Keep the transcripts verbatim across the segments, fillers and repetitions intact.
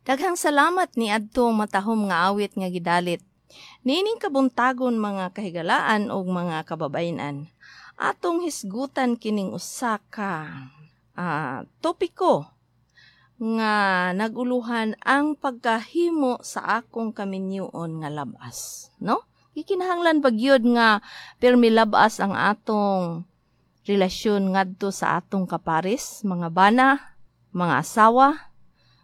Daghang salamat ni adtong matahom nga awit nga gidalit. Niining kabuntagon, mga kahigalaan ug mga kababayen-an, atong hisgutan kining usa ka ah, topiko nga naguluhan ang pagkahimo sa akong kaminyoon nga labas, no? Gikinahanglan ba gyud nga pirmi labas ang atong relasyon ngadto sa atong kapares, mga bana, mga asawa?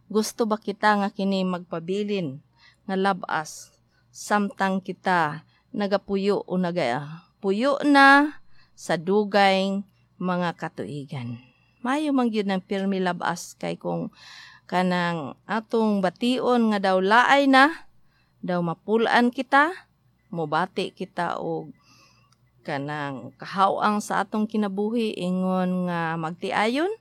Gusto ba kita nga kini magpabilin nga labas samtang kita nagapuyo o nagapuyo na sa dugay mga katuigan? Mayo man gyud ng pirmi labas kay kung kanang atong bation nga daw laay na, daw mapulaan kita, mobati kita og kanang kahawang sa atong kinabuhi ingon nga magtiayon,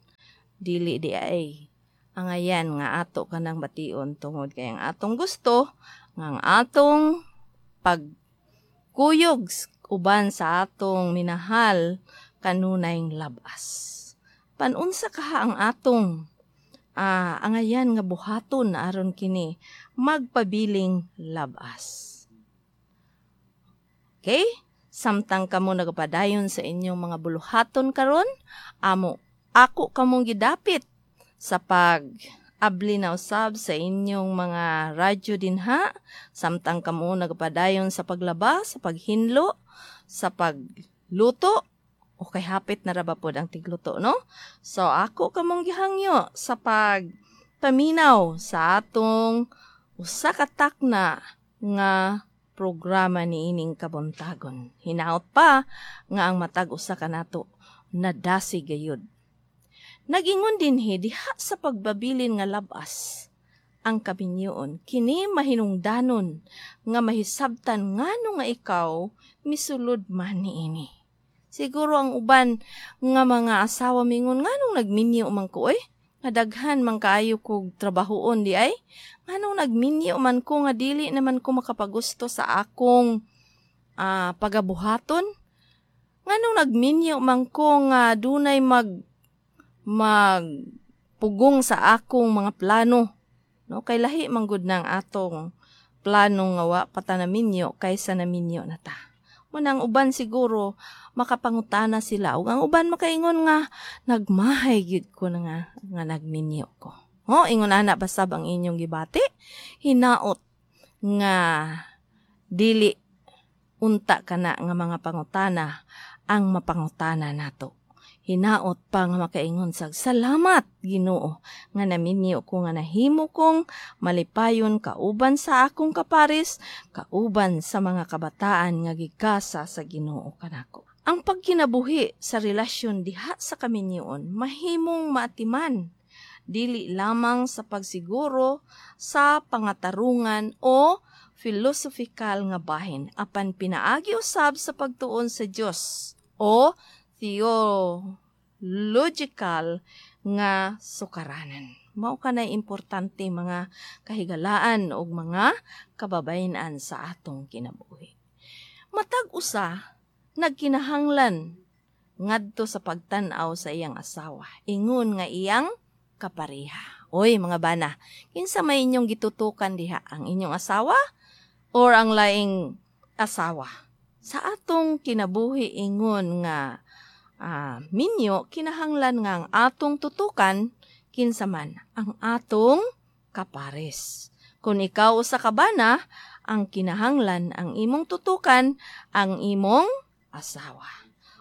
dili di ay angayan nga ato kanang bation tungod kay ang atong gusto nga ang atong pagkuyog uban sa atong minahal kanunay labas. Panunsa kaha ang atong ah, angayan nga buhaton aron kini magpabiling labas? Okay? Samtang kamo nagapadayon sa inyong mga buluhaton karon, amo ako kamong gidapit sa pag abli na usab sa inyong mga radyo dinha samtang kamo nagapadayon sa paglaba, sa paghinlo, sa pagluto, o kay hapit na ra ba pod ang tigluto, no? So ako kamong gihangyo sa pag paminaw sa atong usa ka takna nga programa niining kabuntagon. Hinaot pa nga ang matag usa kanato nadasi gayud. Nagingon dinhi diha sa pagbabilin nga labas ang kaminyoon, kini mahinungdanon nga mahisabtan ngano nga ikaw misulod man niini. Siguro ang uban nga mga asawa mingon, "Nganong nagminyo man ko oy? Nga daghan man kaayo kog trabahoon di ay? Nganong nagminyo man ko nga dili naman ko makapagusto sa akong uh, pagabuhaton? Nganong nagminyo man ko nga dunay mag magpugong sa akong mga plano?" No, kay lahi man gud nang atong plano nga wa pa ta naminyo kaysa naminyo na ta. Munang uban siguro makapangutana sila ug ang uban makaingon nga, "Nagmahay gyud ko na nga, nga nagminyo ko." Ho, ingon ana basab ang inyong gibati? Hinaot nga dili unta kana nga mga pangutana ang mapangutana nato. Hinaot pa nga makaingon sag, "Salamat Ginoo nga naminyo ko nga nahimo kong malipayon kauban sa akong kapares, kauban sa mga kabataan nga gigasa sa Ginoo kanako." Ang pagkinabuhi sa relasyon diha sa kaminyoon mahimong maatiman dili lamang sa pagsiguro sa pangatarungan o philosophical nga bahin, apan pinaagi usab sa pagtuon sa Dios o theological nga sukaranan. Mao kanay importante, mga kahigalaan ug mga kababayen-an, sa atong kinabuhi. Matag usa nagkinahanglan ngadto sa pagtan-aw sa iyang asawa ingon nga iyang kapareha. Oy, mga bana, kinsa may inyong gitutukan diha, ang inyong asawa or ang laing asawa? Sa atong kinabuhi ingon nga uh, minyo, kinahanglan nga ang atong tutukan kinsa man? Ang atong kapares. Kung ikaw usa ka bana, ang kinahanglan ang imong tutukan ang imong asawa.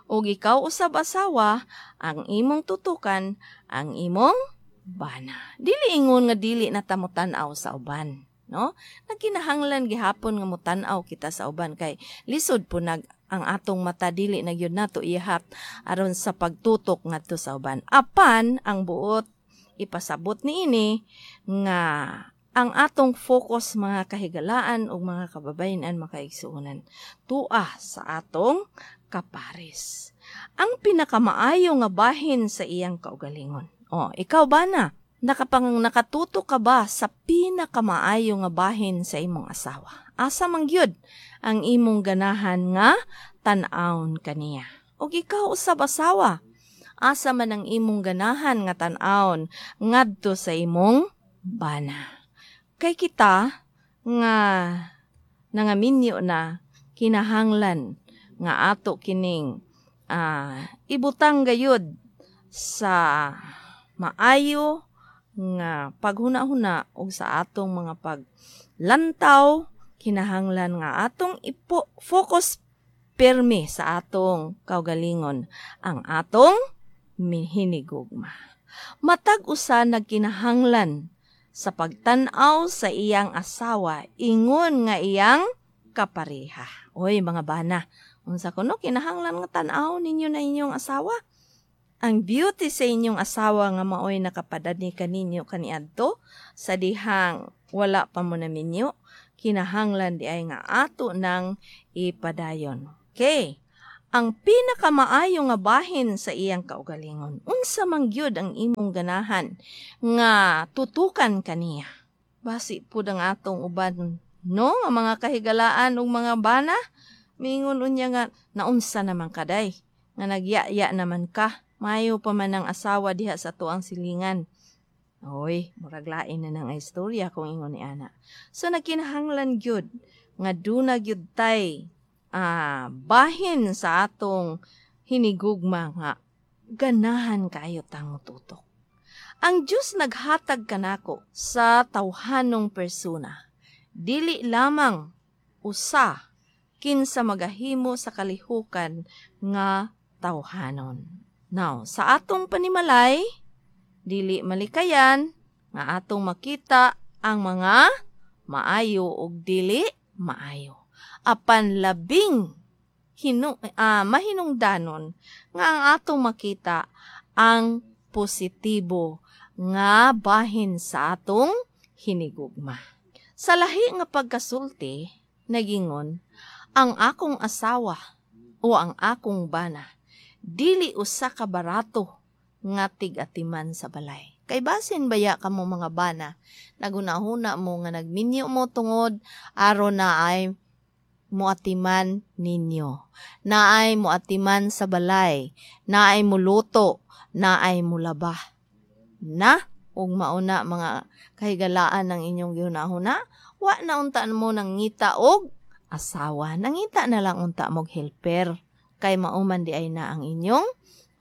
Ug ikaw usab asawa, ang imong tutukan ang imong bana. Dili ingon nga dili na ta motan-aw sa uban, no? Nagkinahanglan gihapon nga motan-aw kita sa uban kay lisod po nag ang atong mata, dili na gyud nato ihap aron sa pagtutok ngadto sa uban. Apan ang buot ipasabot niini nga ang atong focus, mga kahigalaan ug mga kababayen-an, makaigsuonan, tua sa atong kapares. Ang pinakamaayo nga bahin sa iyang kaugalingon. Oh, ikaw ba na? Nakapang nakatuto ka ba sa pinakamaayo nga bahin sa imong asawa? Asa man gyud ang imong ganahan nga tan-awon kaniya? Og ikaw usab asawa, asa man ang imong ganahan nga tan-awon ngadto sa imong bana? Kay kita nga nangaminyo na, kinahanglan nga ato kining uh, ibutang gayud sa maayo nga paghuna-huna og sa atong mga paglantaw, kinahanglan nga atong ipo focus pirmi sa atong kaugalingon, ang atong hinigugma. Matag usa nagkinahanglan sa pagtan-aw sa iyang asawa ingon nga iyang kapareha. Oy, mga bana, unsa kuno kinahanglan nga tan-aw ninyo na inyong asawa? Ang beauty sa inyong asawa nga maoy nakapadani kaninyo kaniadto sa dihang wala pa mo na minyo, kinahanglan di ay nga ato nang ipadayon. Okay. Ang pinakamaayo nga bahin sa iyang kaugalingon, unsa man gyud ang imong ganahan nga tutukan kaniya? Basi pud ang atong uban, no, nga mga kahigalaan ug mga bana, mingon unya nga naunsa naman kaday, nga nagyaya naman ka, maayo pa man ang asawa diha sa tuang silingan. Oy, murag lain na nang istorya kung ingon ni ana. So nagkinahanglan gyud nga duna gyud tay ah, bahin sa atong hinigugma nga ganahan kayo tang tutok. Ang Diyos naghatag kanako sa tawhanong persona. Dili lamang usa kinsa magahimo sa kalihukan nga tawhanon. Now, sa atong panimalay, dili malikayan nga atong makita ang mga maayo ug dili maayo. Apan labing hinu, uh, mahinungdanon nga ang atong makita ang positibo nga bahin sa atong hinigugma. Sa lahi nga pagkasulti, nagingon, ang akong asawa o ang akong bana, dili usa ka barato nga tig-atiman sa balay. Kay basin baya kamo mga bana, nagunahuna mo nga nagminyo mo tungod aron na ay muatiman ninyo, naay muatiman sa balay, naay muluto, naay mulaba. Na, ug mauna mga kahigalaan ng inyong gihunahuna, wa na unta mo nangita og asawa, nangita na lang unta mog helper, kay mauman di ay na ang inyong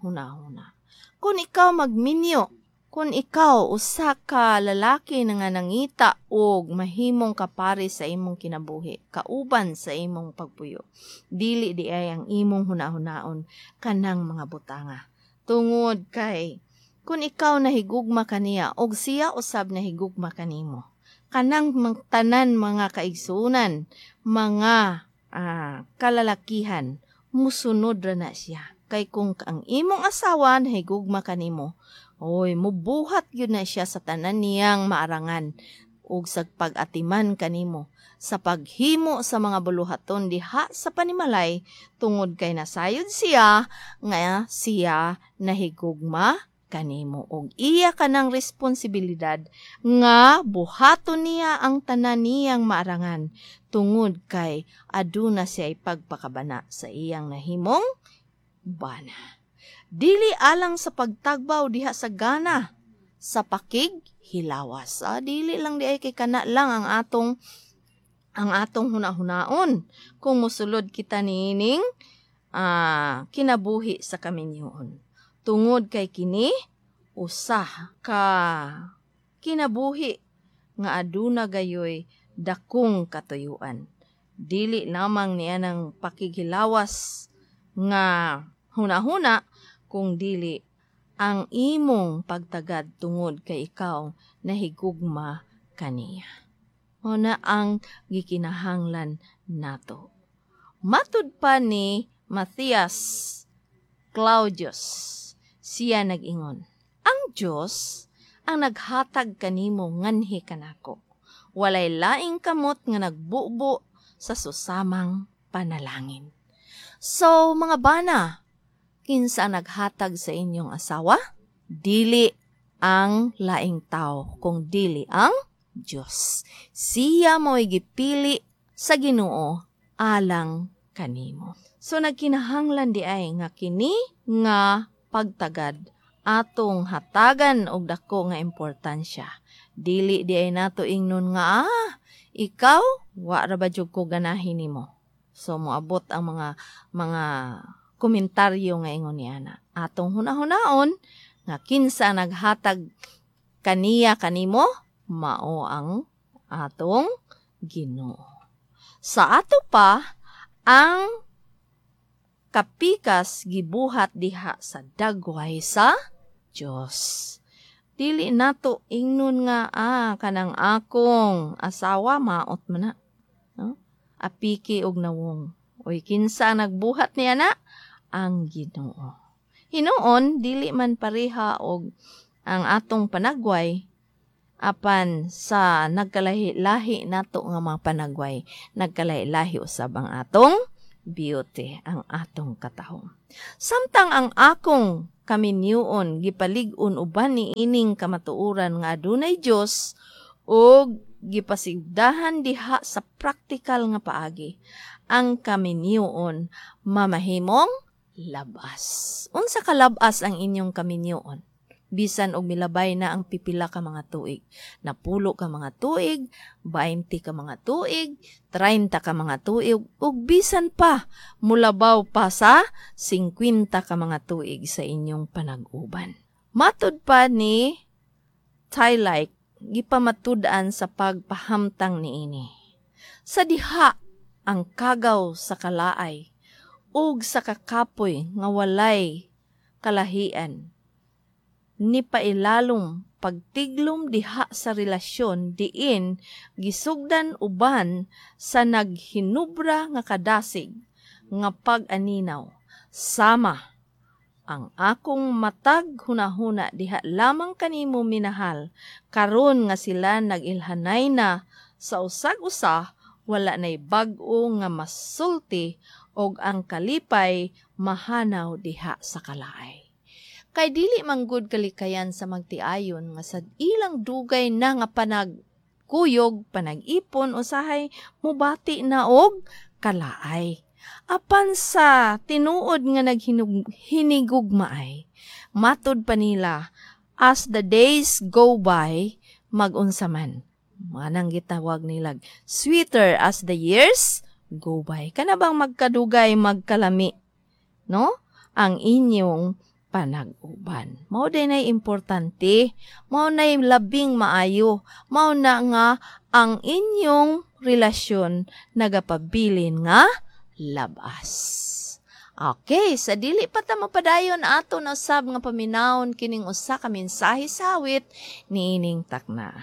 hunahuna. Kung ikaw magminyo, kung ikaw usa ka lalaki na nga nangita og mahimong kapari sa imong kinabuhi, kauban sa imong pagpuyo, dili di ay ang imong hunahunaon kanang mga butanga. Tungod kay kung ikaw nahigugma kaniya og siya usab nahigugma kanimo, kanang tanan mga kaigsuonan, mga ah, kalalakihan, musunod ra na siya. Kay kung ang imong asawa nahigugma kanimo, oy, mubuhat yun na siya sa tanan niyang maarangan ug sa pag-atiman kanimo, sa paghimo sa mga buluhaton diha sa panimalay, tungod kay nasayod siya nga siya nahigugma kanimo ug iya kanang responsibilidad nga buhaton niya ang tanan niyang maarangan tungod kay aduna siya ipagpakabana sa iyang nahimong bana. Dili alang sa pagtagbaw diha sa gana, sa pakig hilawas. Ah, dili lang di ay kay kana lang ang atong ang atong hunahunaon kung mosulod kita niining ah, kinabuhi sa kaminyoon. Tungod kay kini usa ka kinabuhi nga aduna gayoy dakong katuyuan. Dili lamang niya ng pakighilawas nga hunahuna kung dili ang imong pagtagad tungod kay ikaw nahigugma kaniya. O na ang gikinahanglan nato. Matud pa ni Matthias Claudius, siya nag-ingon, ang Diyos ang naghatag kanimo nganhi kanako. Walay laing kamot nga nagbubo sa susamang panalangin. So, mga bana, kinsa naghatag sa inyong asawa? Dili ang laing tao, kung dili ang Diyos. Siya mo'y gipili sa Ginoo alang kanimo. So nagkinahanglan di ay nga kini nga pagtagad Atong hatagan og dako nga importansya. Dili diay nato ingnon nga ah, ikaw wa ra ba jud ko ganahin nimo. So moabot ang mga mga komentaryo nga ingon niana. Atong hunahunaon nga kinsa naghatag kaniya kanimo, mao ang atong Ginoo. Sa ato pa, ang kapikas gibuhat diha sa dagway sa Dios. Dili nato ingnon nga ah kanang akong asawa maot man na. No? Apiki og nawong. Oy, kinsa nagbuhat niya na? Ang Ginoo. Hinuon dili man pareha og ang atong panagway, apan sa nagkalahi-lahi nato nga mga panagway, nagkalahi-lahi usab ang atong beauty, ang atong katahom. Samtang ang akong kaminyuon gipalig-on uban ni ining kamatuoran nga adunay Dios ug gipasigdahan diha sa praktikal nga paagi, ang kaminyuon mamahimong labas. Unsa kalabas ang inyong kaminyuon? Bisan og milabay na ang pipila ka mga tuig. Napulo ka mga tuig, twenty ka mga tuig, thirty ka mga tuig, ug bisan pa mulabaw pa sa fifty ka mga tuig sa inyong panag-uban. Matud pa ni Tylike, gipamatud-an sa pagpahamtang niini. Sa diha ang kagaw sa kalaay ug sa kakapoy nga walay kalahian ni pailalom pagtiglom diha sa relasyon diin gisugdan uban sa naghinubra nga kadasig nga pag-aninaw, sama ang akong matag hunahuna diha lamang kanimo minahal. Karon nga sila nag-ilhanay na sa usag-usa, wala nay bag-o nga masulti og ang kalipay mahanaw diha sa kalaay. Kay dili manggod kalikayan sa magtiayon nga sa ilang dugay na nga panagkuyog, panag-ipon, usahay mubati na og kalaay. Apan sa tinuod nga naghinigugmaay, matud pa nila, as the days go by, magunsa man. Manang gitawag nila, sweeter as the years go by. Kana bang magkadugay, magkalami, no? Ang inyong panag-uban. Mao din ay importante, mao nay labing maayo, mao na nga ang inyong relasyon nagapabilin nga labas. Okay, sa dili pa ta mapadayon, ato na usab nga paminawon kining usa ka mensahe sa awit niining takna.